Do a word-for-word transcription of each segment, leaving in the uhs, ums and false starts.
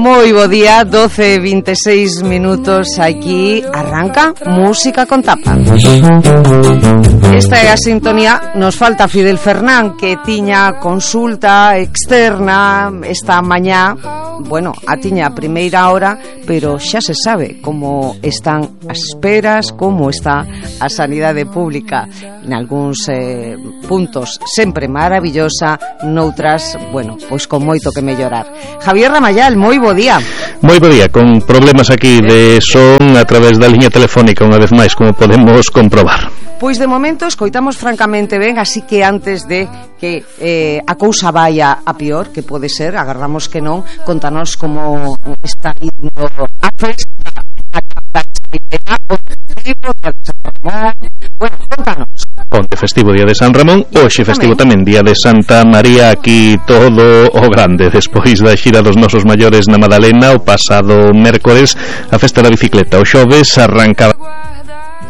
Moi bo día, doce e vinte e seis minutos. Aquí arranca Música con Tapa. Esta é a sintonía. Nos falta Fidel Fernán, que tiña consulta externa esta mañá. Bueno, a tiña a primeira hora, pero xa se sabe como están as esperas, como está a sanidade pública. En algúns eh, puntos sempre maravillosa, noutras, bueno, pois con moito que mellorar. Javier Ramayal, moi bo día. Moi bo día, con problemas aquí de son a través da liña telefónica unha vez máis, como podemos comprobar. Pois de momento escoitamos francamente ben, así que antes de que eh, a cousa vaya a pior, que pode ser, agardamos que non, contanos como está indo a festa, a festivo de San Ramón. Bueno, contanos. Onte festivo día de San Ramón, hoxe festivo tamén día de Santa María, aquí todo o grande. Despois da xira dos nosos maiores na Madalena o pasado mércores, a festa da bicicleta o xoves arrancaba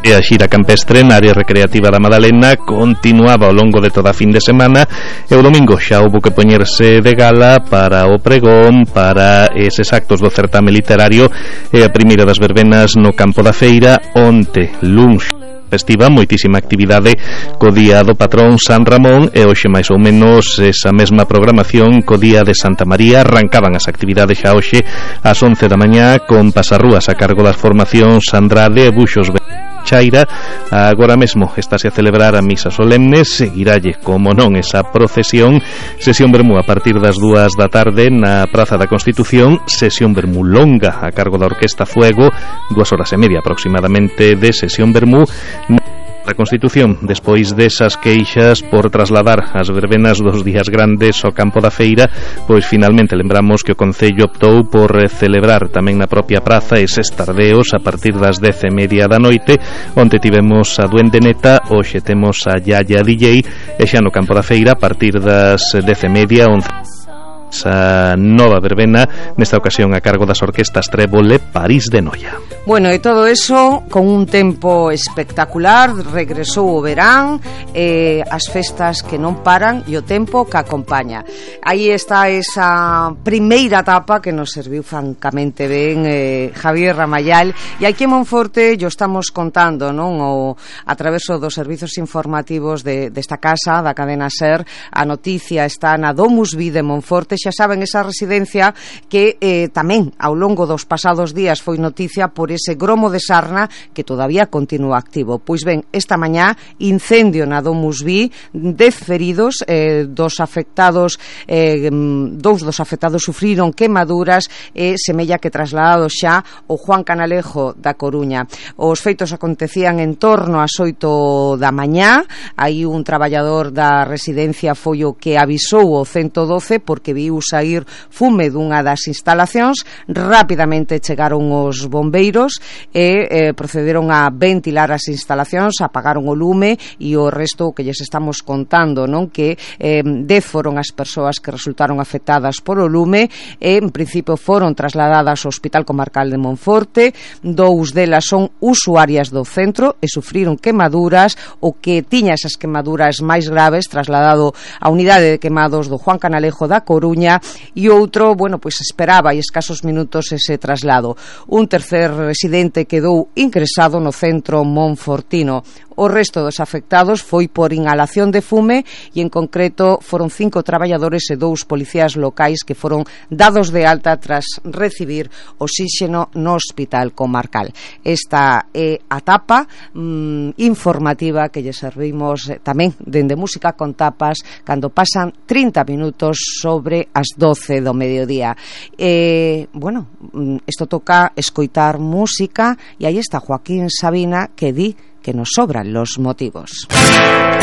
e a xira campestre na área recreativa da Madalena continuaba ao longo de toda a fin de semana, e o domingo xa houbo que poñerse de gala para o pregón, para eses actos do certame literario e a primeira das verbenas no campo da feira. Onte, luns festiva, moitísima actividade co día do patrón San Ramón, e hoxe máis ou menos esa mesma programación co día de Santa María. Arrancaban as actividades xa hoxe ás once da mañá con pasarrúas a cargo das formacións Andrade e Buxos Chaira. Agora mesmo estáse a celebrar a misa solemne, seguiralle, como non, esa procesión, sesión vermú a partir das dúas da tarde na Praza da Constitución, sesión vermú longa a cargo da Orquesta Fuego, dúas horas e media aproximadamente de sesión vermú da Constitución. Despois desas queixas por trasladar as verbenas dos días grandes ao campo da feira, pois finalmente lembramos que o Concello optou por celebrar tamén na propia praza eses tardeos a partir das dez e media da noite, onde tivemos a Duende Neta, hoxe temos a Yaya D J, e xa no campo da feira a partir das dez e media, once a nova verbena, nesta ocasión a cargo das orquestas Trébole, París de Noia. Bueno, e todo eso con un tempo espectacular. Regresou o verán, eh, as festas que non paran e o tempo que acompaña. Aí está esa primeira etapa que nos serviu francamente ben, eh, Javier Ramayal, e aquí en Monforte yo estamos contando, non, o a través dos servizos informativos de desta casa, da cadena SER. A noticia está na Domus Vi de Monforte. Xa saben, esa residencia que eh, tamén ao longo dos pasados días foi noticia por ese gromo de sarna que todavía continúa activo. Pois ben, esta mañá incendio na Domus Vi, dez feridos, eh, dos afectados, eh, dous dos afectados sufriron quemaduras e semella que trasladados xa o Juan Canalejo da Coruña. Os feitos acontecían en torno ás oito da mañá. Aí un traballador da residencia foi o que avisou o ciento doce porque viu sair fume dunha das instalacións. Rapidamente chegaron os bombeiros e eh, procederon a ventilar as instalacións, apagaron o lume e o resto que lles estamos contando, non, que eh, dez foron as persoas que resultaron afectadas por o lume e en principio foron trasladadas ao Hospital Comarcal de Monforte. Dous delas son usuarias do centro e sufriron quemaduras. O que tiña esas quemaduras máis graves trasladado á unidade de quemados do Juan Canalejo da Coruña, e outro, bueno, pois esperaba e escasos minutos ese traslado. Un tercer residente quedou ingresado no centro monfortino. O resto dos afectados foi por inhalación de fume e en concreto foron cinco traballadores e dous policías locais que foron dados de alta tras recibir oxíxeno no Hospital Comarcal. Esta é a tapa mm, informativa que lle servimos eh, tamén dende Música con Tapas cando pasan trinta minutos sobre as doce do mediodía. Eh, bueno, isto toca escoitar música e aí está Joaquín Sabina que di que nos sobran los motivos.